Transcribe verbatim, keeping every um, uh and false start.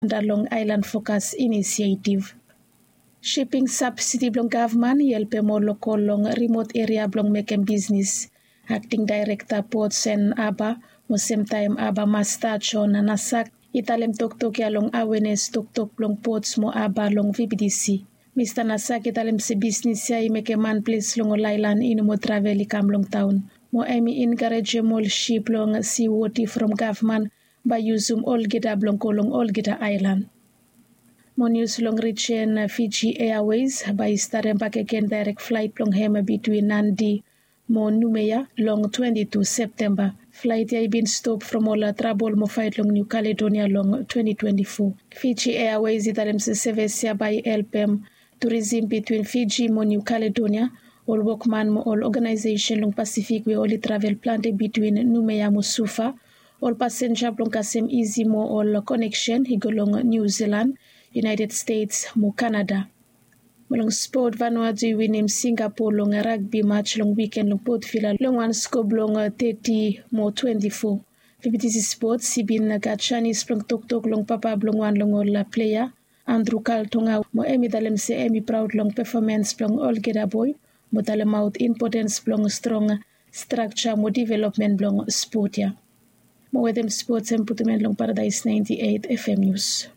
Anda long Aelan Fokas Inisiativ. Shiping sabsidi blong gavman i helpem ol lokol long rimot eria blong mekem bisnis. Akting daerekta pots en aba mo semtaem aba masta Jon Nasak i talem toktok ya long awenes toktok blong pots mo aba long vbtc. Mista Nasak i talem se bisnis ya i mekem manples long ol aelan i no moa travel i kam long taon mo hem i enkarejem ol sip long siwoti from gavman bae i yusum olgeta blong go long olgeta aelan. Mo nius long rijen Fiji Airways bae i starem bakegen daerek flaet blong hem bitwin Nadi mo Numea long twenti tu Septemba. Flaet ya i bin stop from ol trabol mo faet long Niu Kaledonia long twenti twenti fo. Fiji Airways i talem se sevis ya bae i helpem turisim bitwin Fiji mo Niu Kaledonia, ol wokman mo ol oganaesesen long Pasifik we oli travel plante bitwin Numea mo Suva, ol pasenja blong kasem isi mo ol koneksen i go long Niu Silan, United States mo Kanada. Mo long spot, Vanuatu i winim Singapo long ragbi mats long wiken long Port Vila long wan sko blong teti mo twenti fo. Vbtc Sports i bin gat janis blong toktok long papa blong wan long ol plea, Andrew Kaltonga, mo hem i talem se hem i praod long pefomans blong olgeta boe mo talemaot impotens blong strong strakja mo developmen blong spot ya. Mo wetem spots hem putum en long Paradaes naenti eit FM Nius.